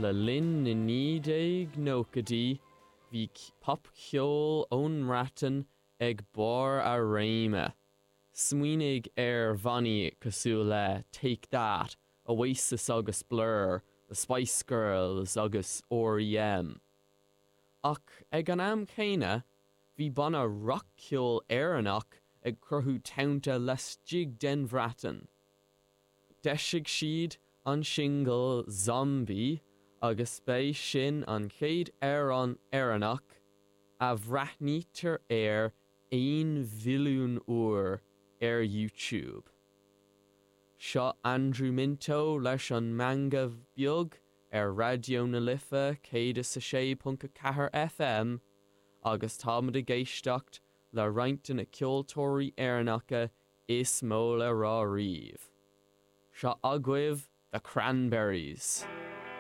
Le linn na 1990idí, bhí popcheol ón mBreatain ag barr a réime. Smaoinigh ar bhannaí cosúil le Take That, Oasis agus Blur, The Spice Girls agus R.E.M. Ach ag an am chéanna, bhí banna rac-cheoil Éireannach ag cruthú tonnta laistigh den Bhreatain. D'eisigh siad an singil 'Zombie' agus b'é sin an chéad amhrán Éireannach a bhreathnaítear air 1 bhilliún uair ar YouTube. Seo Andrew Minto leis an Meangadh Beag ar Raidió na Life 106.4 FM agus táimid ag éisteacht le roinnt de na ceoltóirí Éireannacha is mó le rá riamh. Seo agaibh The Cranberries.